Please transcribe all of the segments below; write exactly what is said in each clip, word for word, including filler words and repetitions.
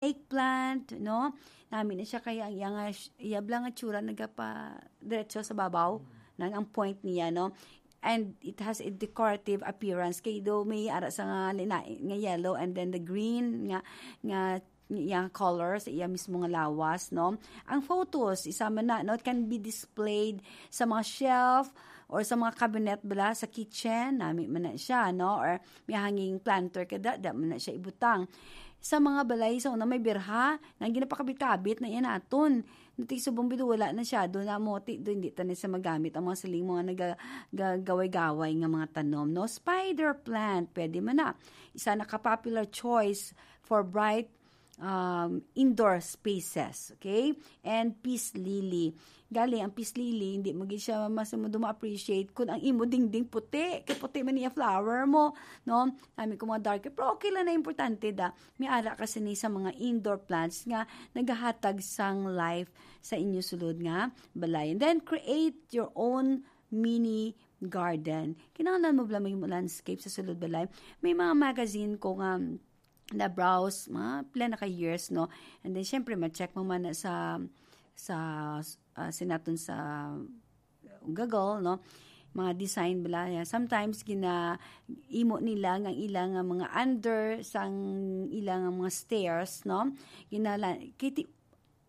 snake plant, no? Nami na siya kaya ang iya nga, iya bala nga tsura nagapa diretso sa babaw, nang ang point niya, no? And it has a decorative appearance. Kay do may ara sa nga lina-, nga yellow and then the green nga, nga iya color sa iya mismo nga lawas, no? Ang photos, isa man na, no, it can be displayed sa mga shelf or sa mga cabinet bala sa kitchen, nami man na siya, no? Or may hanging planter ka da, da man na siya ibutang. Sa mga balay sa una may birha, nang ginapakabit-kabit na yan aton. Nati subong bido wala na siya, do na mo, ti, do hindi ta na siya magamit ang mga siling mga naga-, ga-, gaway-gaway nga mga tanom, no? Spider plant, pwede man na. Isa na ka popular choice for bright, um, indoor spaces, okay? And peace lily. Gali, ang peace lily, hindi mo gid siya mas mo ma-appreciate kung ang imo dingding puti, kay puti man niya flower mo, no? Nami ko mga dark, pero okay lang na, importante da. May ara ka sini sa mga indoor plants nga nagahatag sang life sa inyo sulod nga balay. And then create your own mini garden. Kinahanglan mo bala may landscape sa sulod balay. May mga magazine ko nga na-browse, mga pila na ka years, no? And then, syempre, ma-check mo man na sa, sa, ah, sinaton sa Google, no? Mga design bala. Yeah. Sometimes, gina-, imo nila nga ila nga mga under sang ila nga mga stairs, no? Ginala-, kiti-,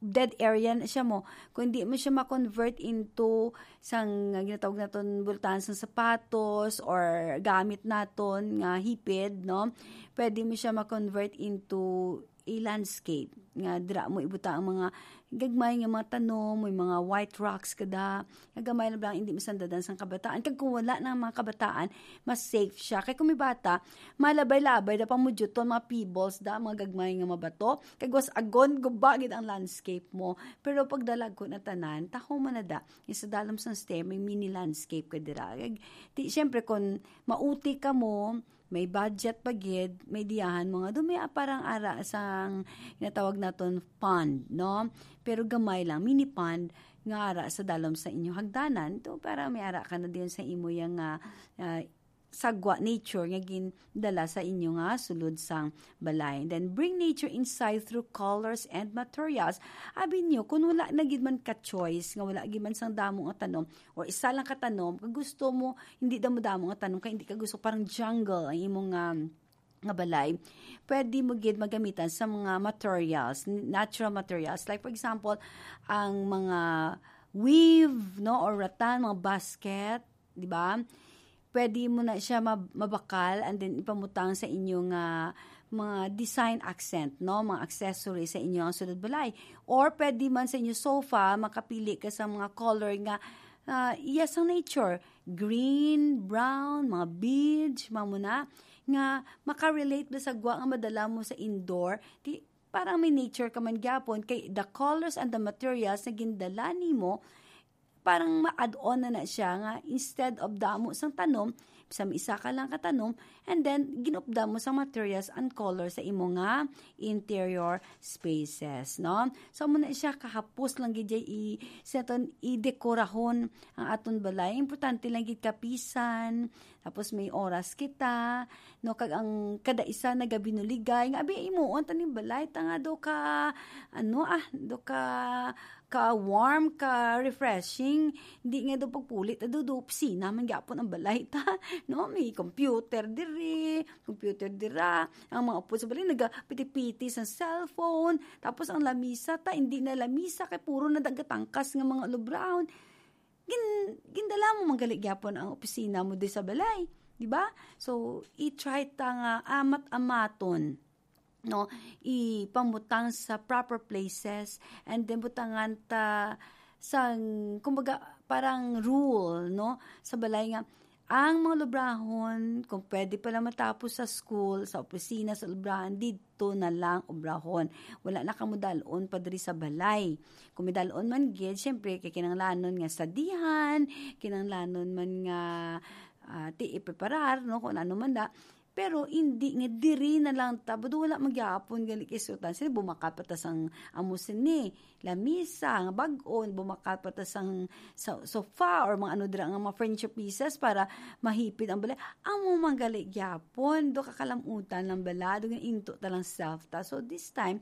dead area na siya mo. Kung hindi mo siya ma-convert into sang, nga ginatawag naton, bultahan sang sapatos or gamit naton nga hipid, no? Pwede mo siya ma-convert into a landscape nga dira mo ibutang ang mga gagmay nga mga tanom, may mga white rocks kada, nga gamay na lang, hindi masandadan sang kabataan. Kag kung wala na ang mga kabataan, mas safe siya. Kay kung may bata, malabay-labay da pamudyuton, mga pebbles da, mga gagmay nga mabato. Kag was agon, guba gid ang landscape mo. Pero pag dalagko na tanan, taho man na da. Yung sa dalom sang stair, may mini landscape ka dira. Kag, ti, syempre, kung mauti ka mo, may budget pa gid, may diyahan mo nga, do may parang ara sang ginatawag naton pond, no? Pero gamay lang, mini pond, nga ara sa dalom sa inyo hagdanan. To, para may ara ka na diyon sa imo yang, ah, ah, sagwa nature nga gindala sa inyo nga sulod sang balay. Then, bring nature inside through colors and materials. Abi niyo, kung wala na gid man ka choice, nga wala gid man sang damo nga tanom, or isa lang ka tanom, kag gusto mo, hindi damo-damo nga tanom, kay hindi ka gusto parang jungle ang imong, um, nga balay, pwede mo gid magamitan sa mga materials, n-, natural materials. Like, for example, ang mga weave, no, or rattan, mga basket, di ba? Pwede mo na siya mab-, mabakal and then ipamutang sa inyo nga mga design accent, no? Mga accessory sa inyo ang sulod balay. Or pwede man sa inyo sofa, makapili ka sa mga color nga, ah, iya sa nature. Green, brown, mga beige, mga muna, nga makarelate ba sa gwa nga madala mo sa indoor. Di, parang may nature ka man gyapon, kay the colors and the materials na gindala nimo, parang ma-add on na na siya nga instead of damo sang tanom, sa isa ka lang ka tanom, and then ginupda mo sa materials and color sa imo nga interior spaces, no? So, amo na siya, kahapos lang gid jay i-, sa aton idekorahon ang aton balay. Importante lang gid kapisan, tapos may oras kita, no, kag ang kada isa nagabinuligay nga, "Abi, imuon ta ning balay, ta nga do ka, ano, ah, do ka, ka warm, ka refreshing." Di nga do pagpulit, ado do opisina man gyapon ang balay ta, no? May computer diri, computer dira. Ang mga upod sa balay nagapiti-piti sa cellphone. Tapos ang lamisa ta, hindi na lamisa, kay puro na dagatangkas nga mga ulubrahon. Gin-, gindala mo man gali gyapon ang opisina mo di sa balay, di ba? So, i-try ta nga amat-amaton, no? Ipamutang sa proper places, and then butangan ta sang, kumbaga, parang rule, no? Sa balay nga, ang mga lubrahon, kung pwede pala matapos sa school, sa opisina, sa lubrahan, didto na lang ubrahon. Wala na kamo dalon pa diri sa balay. Kung may dalon man gid, syempre, kay kinahanglanon nga sadihan, kinahanglanon man nga, ah, ti ipreparar, no, kung ano man da. Pero hindi nga diri na lang ta, budo wala magyapon gali kay sultan. Sila bumakal pa ta sang amo sini, lamisa, nga bag-on, bumakal pa ta sang sa sofa or mga ano dira nga mga furniture pieces para mahipid ang balay. Amo man gali gyapon, do kakalamutan lang bala, do nga into ta lang self ta. So this time,